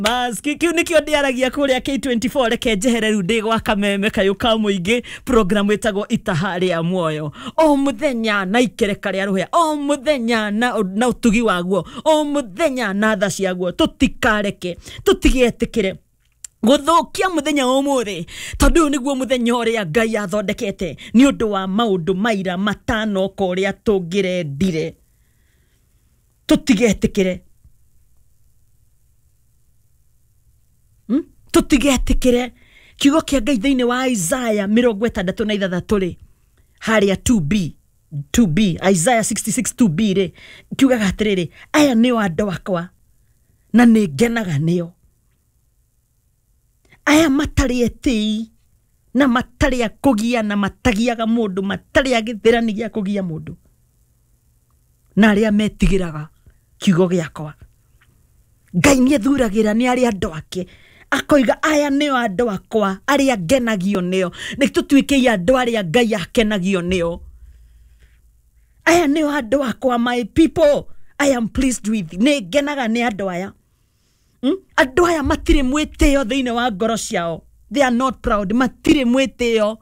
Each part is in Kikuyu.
Maski kiu nikio ndiaragia kuria K24. Reke njehere riu ndi gwa kameme kayu ka muingi, program itagwo Itaha ria Muoyo, o muthenya na ikereka ria ruhia, o muthenya na utugi waguo, o muthenya na tha ciaguo. Tutikareke, tutigetikire guthukia muthenya umuthi, tondu uyu niguo muthenya uria Ngai athondekete ni undu wa maundu maira matanoka uria tungirendire. Tutigetikire, Tutigetikire. Kiugo kia Ngai thiini wa Isaiah 66 ri, haria 2b, 2b, Isaiah 66 2b ri, kiugaga atiriri: "Aya nio andu akwa na nĩ ngenaga nĩo, aya matarĩ etĩi na matarĩ a kũgia na matagiaga mũndũ, matarĩ a gĩthĩrani gĩa kũgia mũndũ, na arĩa metigĩraga kiugo gĩakwa." Ngai nĩ ethuragĩra nĩ arĩa andũ ake, akoiga, "Aya nĩo andũ akwa arĩa ngenagio nĩo." Nĩ tũtuĩkei andũ arĩa Ngai akenagio nĩo. "Aya nĩo andũ akwa, my people I am pleased with." Nĩ ngenaga nĩ andũ aya. Andũ aya matirĩ mwĩtĩo thĩinĩ wa ngoro ciao. They are not proud. Matirĩ mwĩtĩo.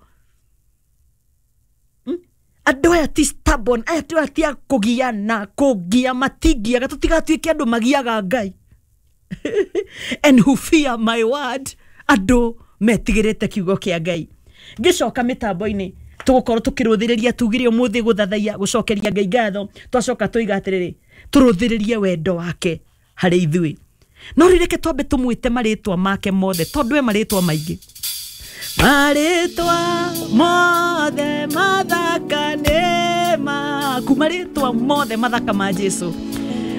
Andũ aya ti stubborn. Aya andũ aya ti a kũgiana, kũngia matingiaga. Tũtigatuĩke andũ magiaga Ngai. And who fear my word. Andũ metigĩrĩte kiugo kĩa Ngai. Ngĩcoka mĩtambo-inĩ, tũgũkorwo tũkĩrũthĩrĩria. Tugire ũmũthĩ gũthathaiya, gũcokeria Ngai ngatho. Twacoka tũiga atĩrĩrĩ, tũrũthĩrĩrie wendo wake harĩ ithuĩ. No rĩu reke twambe tũmwĩte marĩtwa make mothe, tondũ e marĩtwa maingĩ. Marĩtwa mothe mathaka nĩ maku, marĩtwa mothe mathaka ma Jesu.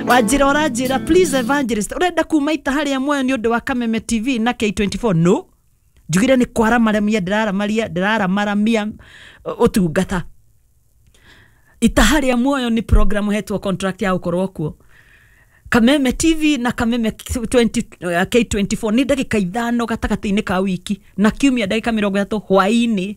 Wanjĩra, ũranjĩra, "Please evangelist, ũrenda kuma Itaha rĩa Muoyo nĩ ũndũ wa Kameme TV na K24?" No njugire nĩ kwaramaramia, ndĩraramaria, ndĩraramaramia ũtungata. Itaha rĩa Muoyo nĩ program hetwo contract ya gũkorwo kuo Kameme TV na Kameme 20, K24. Nĩ ndagĩka 5 gatagatĩ-inĩ ka wiki na kiumia, ndagĩka 30 hwaĩ-inĩ,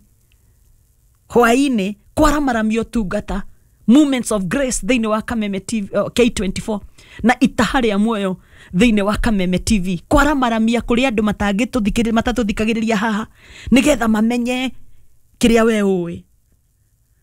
hwaĩ-inĩ, kwaramaramia ũtungata, Moments of Grace thĩinĩ wa Kameme TV, K24, na Itaha rĩa Muoyo thĩinĩ wa Kameme TV, kwaramaramia kũrĩ andũ matangĩtũthikĩrĩria, matatũthikagĩrĩria haha, nĩgetha mamenye kĩrĩa we ũĩ.